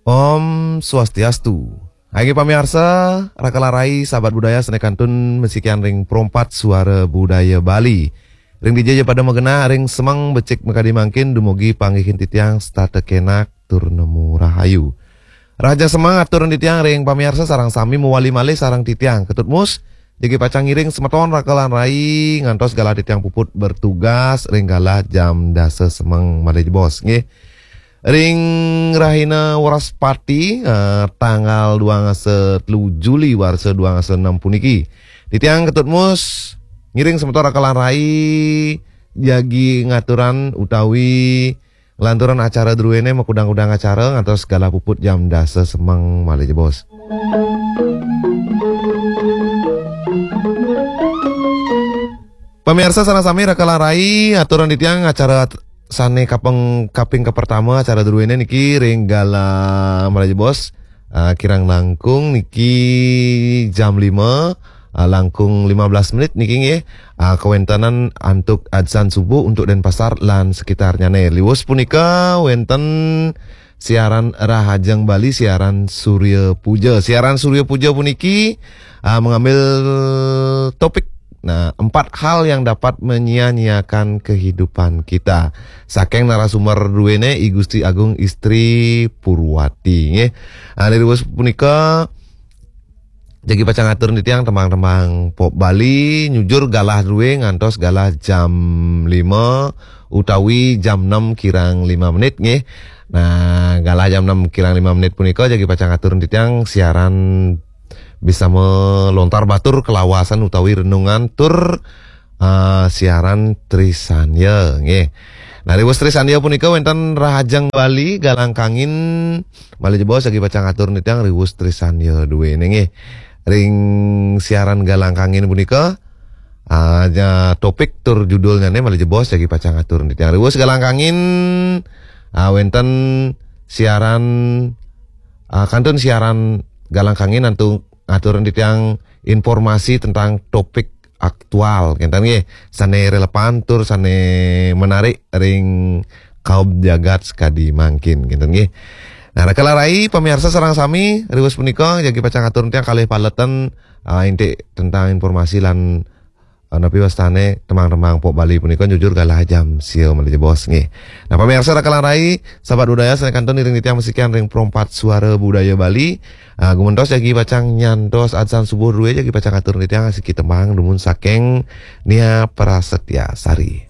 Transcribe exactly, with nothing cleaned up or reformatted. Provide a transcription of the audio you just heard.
Om Swastiastu. Inggih pamiarsa, raka lan rai, sahabat budaya, sané kantun masikian ring Pro empat Suara Budaya Bali. Ring dija ja pada magenah, ring semeng becik makadi mangkin, dumugi panggihin titiang setata kenak tur nemu rahayu. Rahajeng semeng aturang titiang ring pamiarsa sareng sami, mawali malih sareng titiang Ketut Mus, jagi pacang ngiring semeton raka lan rai ngantos galah titiang puput bertugas ring galah jam dasa semeng malih jebos, nggih. Ring rahina Wraspati, eh, tanggal dua ngasa telu Juli warsa dua ngasa enam puniki, titiang Ketut Mus ngiring semeton raka lan rai jagi ngaturang utawi nglanturang acara druéné makudang-kudang acara ngantos galah puput jam dasa semeng malih jebos. Pamiarsa sareng sami raka lan rai, aturang titiang acara sané kaping, kaping kapertama acara druéné niki ring galah malih jebos, ah, kirang langkung niki jam lima, ah, langkung lima belas menit niki nggih, ah, kawéntenan antuk adzan subuh untuk Denpasar lan sekitarnyané. Liwus punika wénten siaran Rahajeng Bali, siaran Surya Puja. Siaran Surya Puja puniki, ah, mengambil topik, nah, empat hal yang dapat menyia-nyiakan kehidupan kita. Saking narasumber druéné, I Gusti Agung Istri Purwati, nggih. Ah, liwus punika, jagi pacang atur titiang tembang-tembang pop Bali, nyujur galah drué ngantos galah jam lima utawi jam enam kirang lima menit, nggih. Nah, galah jam enam kirang lima menit punika jagi pacang atur titiang siaran bisa melontar batur kalawasan utawi renungan tur, eh, siaran Trisanya, nggih. Nah, riwus Trisanya punika wénten Rahajeng Bali, Galang Kangin, malih jebos jagi pacang atur titiang riwus Trisanya duéné, nggih. Ring siaran Galang Kangin punika, ah, ja, topik tur judulnyané malih jebos jagi pacang atur titiang riwus Galang Kangin, ah, wénten siaran, ah, kantun siaran Galang Kangin antuk atur titiang informasi tentang topik aktual, kénten nggih, sané relevan tur sané menarik ring kaum jagat sakadi mangkin, kénten nggih. Nah, raka lan rai, pamiarsa sareng sami, riwus punika jagi pacang atur titiang kalih paletan, ah, indik tentang informasi lan, ah, napi wastané tembang-tembang pop Bali punika nyujur galah jam sia malih jebos, nggih. Nah, pamiarsa raka lan rai, sahabat budaya, sané kantun ngiring titiang masikian ring Pro empat Suara Budaya Bali. Ah, gumentos jagi pacang nyantos adzan subuh drué jagi pacang atur titiang asiki tembang dumun saking Nia Prasetya Sari.